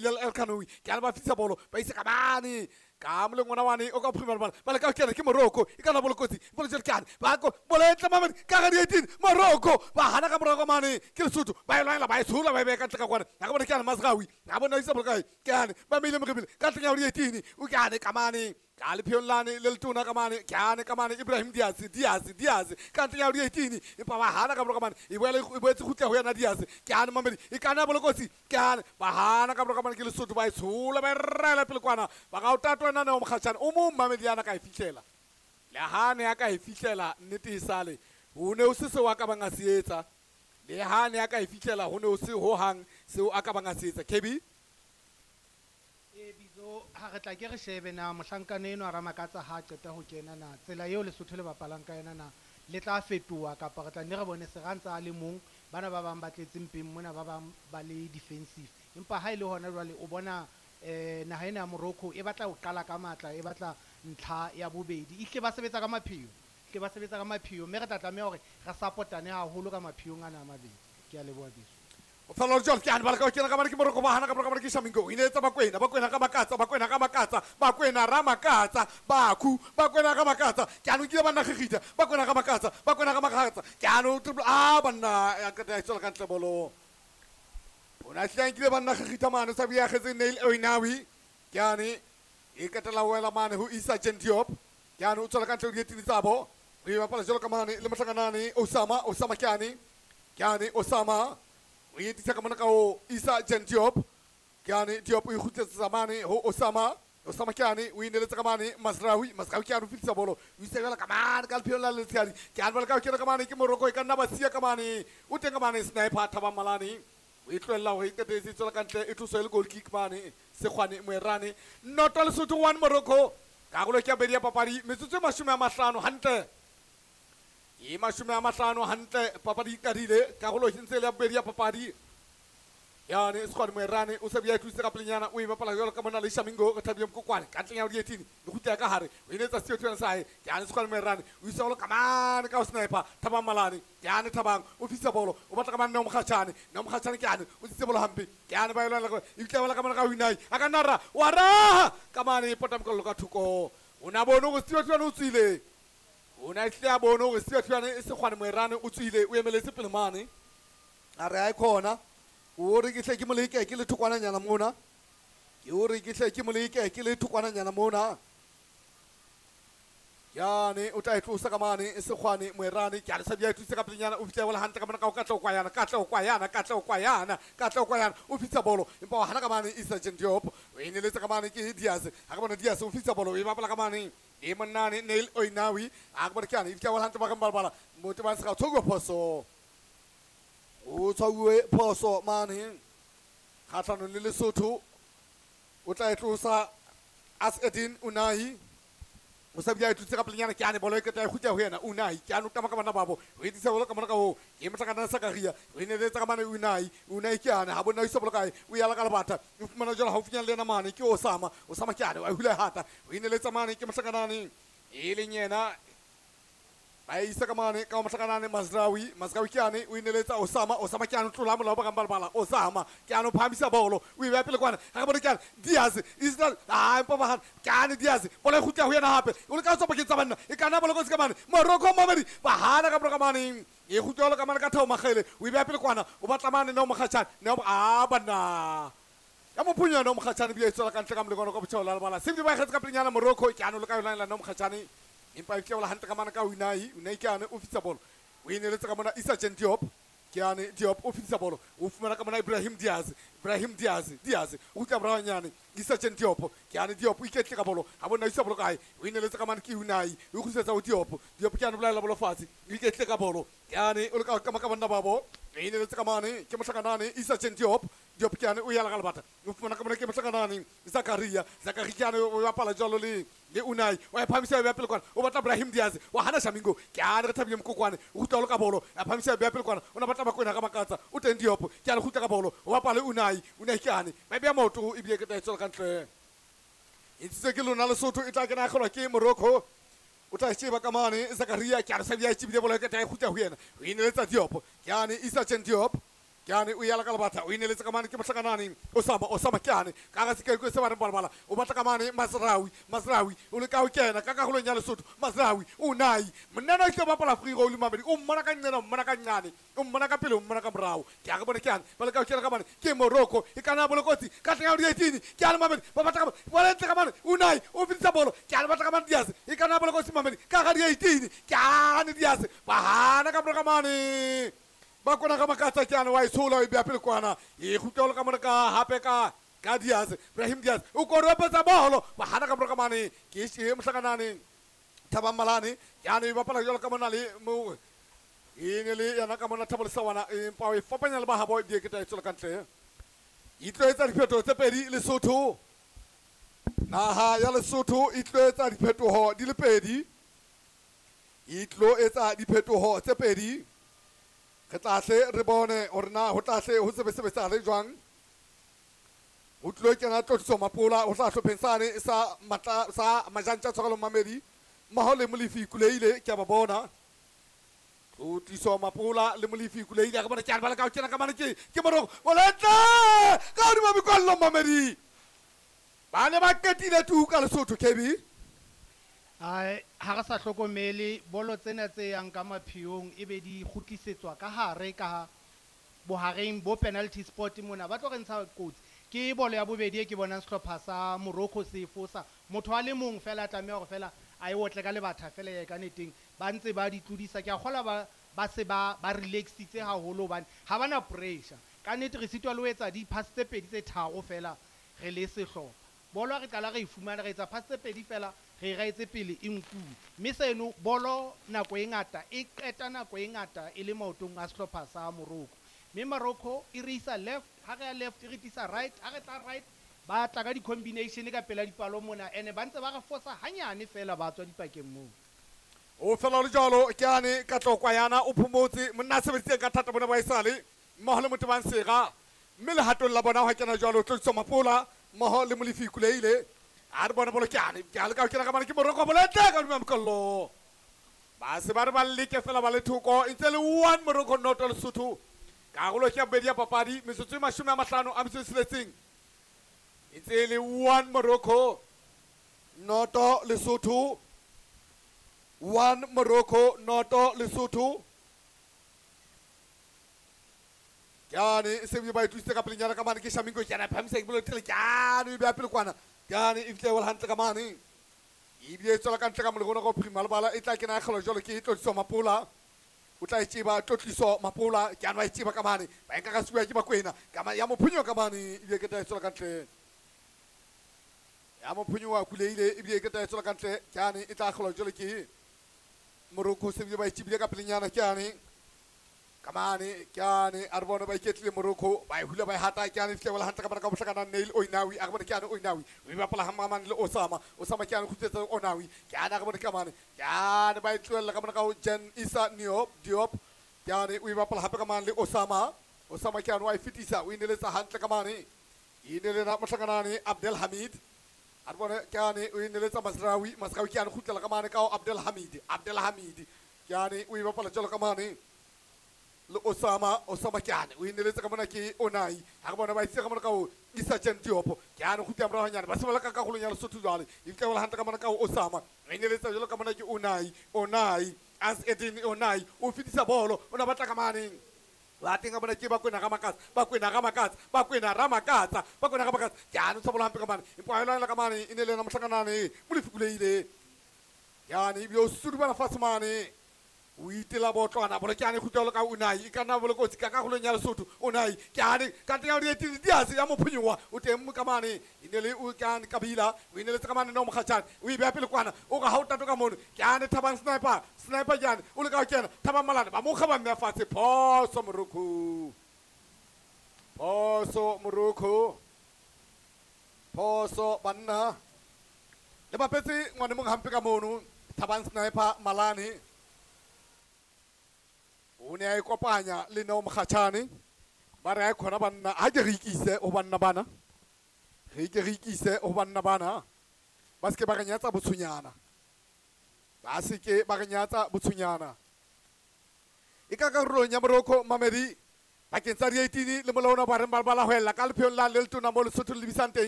Bilal El Kanoui ke a ba fisa bolo ba isa ka mane ka moleng ona wane o ka phumela bala ba le ka kena ke Morocco e kana bolo kotsi bolo jele kane ba ko bolo e tla mamedi ka ga 18 Morocco ba hana ka morago mane ke Lesotho ba e lwanela ba e tshola ba e beya ka ntle ka kwana ga bona ke ane Mazraoui ga bona isa bolo kae ke ane ba meile morebile ka ntleng ya 18 o ke ane ka mane ka lepheong lane le letona ka mane ke ane ka mane Ibrahim Diaz Diaz Diaz ka ntleng ya 18 empa ba hana ka morago mane e boela e boetse kgutla ho yena Diaz ke ane mamedi e kana bolo kotsi ke ane ba hana ka morago mane ke Lesotho ba e tshola ba e raela pele kwana ba ga o tatwa ena neo Mokgatšhane o mong mamedi ana ka e fihlela le ha ne a ka e fihlela nnete e sale ho ne o se seo a ka bang a se etsa le ha ne a ka e fihlela ho ne o se hohang seo a ka bang a se etsa KB. E bitso ha re tla ke re shebe na mohlankana eno a Ramakatsa ha a qeta ho kena na tsela eo Lesotho le bapalang ka yona na le tla fetoha kapa re tla nne re bone Serantsa a le mong bana ba bang ba tletse mpeng mona ba bang ba le defensive empa ha e le hona jwale o bona naha ena ya Morocco e batla ho qala ka matla e batla ntlha ya bobedi ehle ba sebetsa ka mapheo hle ba sebetsa ka mapheo mme re tla tlameha hore re supportane haholo ka mapheong ana a mabedi. Ke a leboha biso. O fela jalo ke ane ba leka ho kena ka mane ke Morocco ba hana ka morago mane ke Shamingo o inetsa Bakwena Bakwena ka makatsa Bakwena ka makatsa Bakwena ra makatsa Bakhu Bakwena ka makatsa ke ane o kile banna gigita Bakwena ka makatsa Bakwena ka makatsa ke ane o triple a banna ya qeta ya tswela ka ntle bolo o na hlile a nkile banna gigita mane sa bua agetse Neil Oinawi ke ane e qetela wela mane ho Isa Diop ke ane o tswela ka ntle ho dietini tsabo o e bapala jalo ka mane le mohlakanane Osama Osama ke ane Osama o etisa ka mona ka ho Isa Diop ke ane Diop o ikgutletsa mane ho Osama Osama ke ane o ineletsa ka mane Mazraoui Mazraoui ke ane o fetisa bolo o isa jwala ka mane ka lepheong la letshehadi ke ane ba leka ho kena ka mane ke Morocco e ka nna ba siya ka mane o teng ka mane sniper Thabang Malane o e tlohella hore e qetetse e tswela ka ntle e tloswe e le goal kick mane Sekgwane Moerane 0 Lesotho 1 Morocco karolo ke ya bobedi ya papadi metsotso e 50 hantle e 50 hantle papadi e qadile karolo e ntse e le ya bobedi ya papadi yane Sekgwane Moerane o se bua e tlositse ka pelenyana o e bapala jwalo ka mona le Shamingo re thabile Mokokwane ka ntleng ya 18 le kgutla ka hare o inetsa seo thulana sa hae ke ane Sekgwane Moerane o isa bolo ka mane ka ho sniper Thabang Malane ke ane Thabang o fisa bolo o batla ka mane Neo Mokgatšhane Neo Mokgatšhane ke ane o tsitse bolo hampe ke ane ba e lwanela e bitla bala ka mane ka Winai a ka nna ra wa raha ka mane e pota mokollo ka thoko o na bone hore Seo Thulane o tswile o na hle a bone hore Seo Thulane e Sekgwane Moerane o tswile o emeletse pele mane a re a e khona o re ke hle ke moleke ke le thokwananyana mona ke o re ke hle ke moleke ke le thokwananyana mona yane o tla e tlosa ka mane Sekgwane Moerane ke a le sa bia e tlositse ka pelenyana o fihla bola hantle ka mona ka o katla o kwayana katla o kwayana katla o kwayana katla o kwayana o fitsa bolo empa wa hana ka mane Isa Diop o ineletse ka mane ke Diaz ha ka bona Diaz o fitsa bolo e bapala ka mane e monnane Neil Oinawi a ka bona ke ane e fihla bola hantle ba ka mbalabala motho ba se ga tshwauwe phoso o tshwauwe phoso mane kgatlhanong le Lesotho o tla e tlosa Asedin Unai o sa bia e tlotse ka pelenyana ke ane bolo e qeta e kgutla ho yena Unai ke ane o tama ka bana babo o etisa bolo ka mona ka ho ke mohlakana Sakaria o ineletsa ka mane Unai Unai ke ane ha bona o isa bolo kae o yala ka lebata o fumana jwalo haufinyana le yena mane ke Osama Osama ke ane wa hula hata o ineletsa mane ke mohlakanane e leng yena ba isa ka mane ka mohlakanane Mazraoui Mazraoui ke ane o ineletsa Osama Osama ke ane o tlola molao ba ka mbalabala Osama ke ane o phahamisa bolo o e beha pele kwana ha ka bona ke ane Diaz Israel a empa ba hana ke ane Diaz bolo e kgutla ho yena hape o leka ho tswa pakeng tsa banna e kana bolo kotsi ka mane Morocco mamedi ba hana ka mora ka mane e kgutla ka mane ka Thabo Makgele o e beha pele kwana o batla mane Neo Mokgatšhane Neo a banna ya mophunya Neo Mokgatšhane bile e tswela ka ntle ka molekwana ka botjhaba la lebala sebile ba kgetse ka pelenyana Morocco ke ane o leka ho lwanela Neo Mokgatšhane empa e tleola hantle ka mane ka Unai Unai ke ane o fitsa bolo o ineletse ka mona Isa Diop ke ane Diop o fitsa bolo o fumana ka mona Ibrahim Diaz Ibrahim Diaz Diaz o kgutla morahonyane Isa Diop ke ane Diop o iketle ka bolo ha bona isa bolo kae o ineletse ka mane ke Unai o kgutlisetsa ho Diop Diop ke ane bolaela bolo fatshe o iketle ka bolo ke ane o leka ka banna babo o ineletse ka mane ke mohlakanane Isa Diop Diop ke ane o yala ka lebata o fumana ka mona ke mohlakanane Zakaria Zakaria ke ane o bapala jwalo le Unai wa e phamisa ya pele kwana o batla Ibrahim Diaz wa hana Shamingo ke ane re thabile Mokokwane o kgutla lo ka bolo a phamisa ya pele kwana o na batla Bakwena ka makatsa o teng Diop ke ane kgutla ka bolo o bapala Unai Unai ke ane ba beya maoto ebile ke tla e tswela ka ntle e ntshitswe ke lona Lesotho e tla kena kgolwa ke Morocco o tla sheba ka mane Zakaria ke ane sa bia e tshebile bolo ke tla e kgutla ho yena o ineletsa Diop ke ane Isa Diop Ke ane o yala ka lebatla o ineletse ka mane ke mohlakanane Osama ke ane ka ga se se ba re balabala o batla ka mane Masrawi o le ka o kena ka karolong ya Lesotho Masrawi o nai monna o tlo bapala free role mabedi o mmona ka nqena o mmona ka nqane o mmona ka pele o mmona ka morao ke a re bone ke ane ba le ka o kena ka mane ke Morocco e kana bolokotsi ka tla di 18 ke ane mabedi ba batla ka ba ntle ka mane o nai o fitsa bolo ke ane batla ka mane Diaz e kana bolokotsi mabedi ka ga di 18 ke ane Diaz ba hana ka ka mane ba kona ka makatsa ke ane wa itshola e bea pele kwana e kgutla ka mona ka hape ka Diaz Ibrahim Diaz o koropetsa bolo ba hana ka mona ka mane ke se mohlakanane Thabang Malane ke ane ba bapala jalo ka mona le mo e ne le yana ka mona Thabo Lesawana empa o e fapanya le ba habo di ke ta e tswela ka ntle e tlo etsa diphetoho tse pedi Lesotho naha ya Lesotho e tlo etsa diphetoho di le pedi e tlo etsa diphetoho tse pedi re tla hle re bone hore na ho tla hle ho sebesebetsa le jwang ho tlo kena Tlotliso Mapola ho tla hlopheng sane sa matla sa Majantja Tshwarelo Mamedi mmoho le Molefi Kuleile ke a ba bona Tlotliso Mapola le Molefi Kuleile re bona ke a ba le ka ho kena ka mane ke Morocco boletle ka hodima mekwallo Mamedi ba ne ba qetile tu ka Lesotho KB. Ai ha re sa hlokomele bolo tsena tse yang ka mapheong e be di kgutlisetswa ka hare ka bohareng bo penalty spot mona ba tlo re ntsha kotsi. Ke bolo ya bobedi e ke bonang sehlopha sa Morocco se fosa motho a le mong fela a tlameha hore fela a e otle ka lebatha fela ya ka neteng ba ntse ba di tlodisa. Ke a kgola ba se ba relaxitse haholo hobane ha bana pressure ka nnete. Re sitwa le ho etsa di-pass tse pedi tse tharo fela re le sehlopha bolo re qala re e fumana re etsa pass tse pedi fela re raetse pele e nkuwe mme seno bolo nako e ngata e qeta nako e ngata e le maotong a sehlopha sa Morocco mme Morocco e re isa left ha re ya left e re tlisa right ha re tla right ba tla ka di-combination ka pela dipalo mona ene ba ntse ba re fosa hanyane fela ba tswa dipakeng moo. O fela le jalo ke ane ka tlokwa yana o phomotse monna a sebeditseng ka thata bona ba esale mmoho le motho ba nsega mme lehatong la bona ho kena jalo Tlotliso Mapola mmoho le Molefi Kuleile a re bone bolo ke ane ke a le ka kena ka mane ke Morocco boletle ka hodima mokollo ba se ba re ba leke fela ba le thoko e ntse le 1 Morocco 0 Lesotho karolo ke ya bobedi ya papadi metsotso e 56 e ntse le 1 Morocco 0 Lesotho 1 Morocco 0 Lesotho ke ane se ba itlositse ka pelenyana ka mane ke Shamingo ke ana phamisa ke bolo tele ke ane e bea pele kwana ke ane e fihle hantle ka mane ebile e tswela ka ntle ka molekgona go phirima lebala e tla kena ya kgelo jalo ke Tlotliso Mapola o tla e tseba Tlotliso Mapola ke ane ba e tseba ka mane ba nka ka suwa ke Bakwena ka ya mophunyo ka mane ebile ke tla e tswela ka ntle ya mophunyo wa Kuleile ebile ke tla e tswela ka ntle ke ane e tla kgelo jalo ke Morocco se bile ba e tsebile ka pelenyana ke ane kamane ke ane a re bone ba iketlile Morocco ba e hula ba e hata ke ane fihle hantle ka mane ka bohlakana Neil Oinawi a re bone ke ane Oinawi o e bapala hamamane le Osama ke ane kgutsetsa Onawi ke ane a re bone kamane ke ane ba e tlohella ka mane ka ho Jan Isa Diop ke ane o e bapala hape ka mane le Osama ke ane wa e fetisa o ineletsa hantle ka mane e ne le na mohlakanane Abdel Hamid a re bone ke ane o ineletsa Masrawi ke ane kgutlela ka mane ka ho Abdel Hamid ke ane o e bapala jalo ka mane le Osama ke ane o ineletse ka mona ke Onai ha re bona ba itse ka mona ka ho Isa Jan Diop ke ane kgutla morao hanyane ba se ba ka karolong ya Lesotho jwale e fihle hantle ka mona ka ho Osama o ineletse jalo ka mona ke Onai as Edin Onai o fetisa bolo o na batla ka maneng ba teng ka mona ke Bakwena ga Makatsa Bakwena ga Makatsa ke ane o tshabola hampe ka mane empa a lwanela ka mane e ne le yena mohlakanane Molefi Kuleile ke ane ebile o sudubana fatshe mane o itela botlwana bolo ke ane kgutla ka Unai e ka nna bolokotsi ka karolong ya Lesotho Unai ke ane ka teng ya di Diaz ya mophunyowa o teng ka mane e ne le o ke ane Kabila o ineletse ka mane no Mokgatjane o e beha pele kwana o re ha o tato ka mono ke ane Thabang Sniper ke ane o le ka ho kena Thabang Malane ba mo kga ba mmeha fatshe phoso Morocco phoso banna le bapetse ngwane mong hampe ka mono Thabang Sniper Malane o ne a ikopanya le Neo Mokgatjane ba re a khona banna ha ke re ikise ho banna bana re ke re ikise ho banna bana ba se ke ba re nyatsa botshonyana ba se ke ba re nyatsa botshonyana e ka karolong ya Morocco Mamedi Pakeng tsa di-18 le molaona ba reng ba bala ho ella ka lepheong la le letona mo Lesotho le lebisang teng.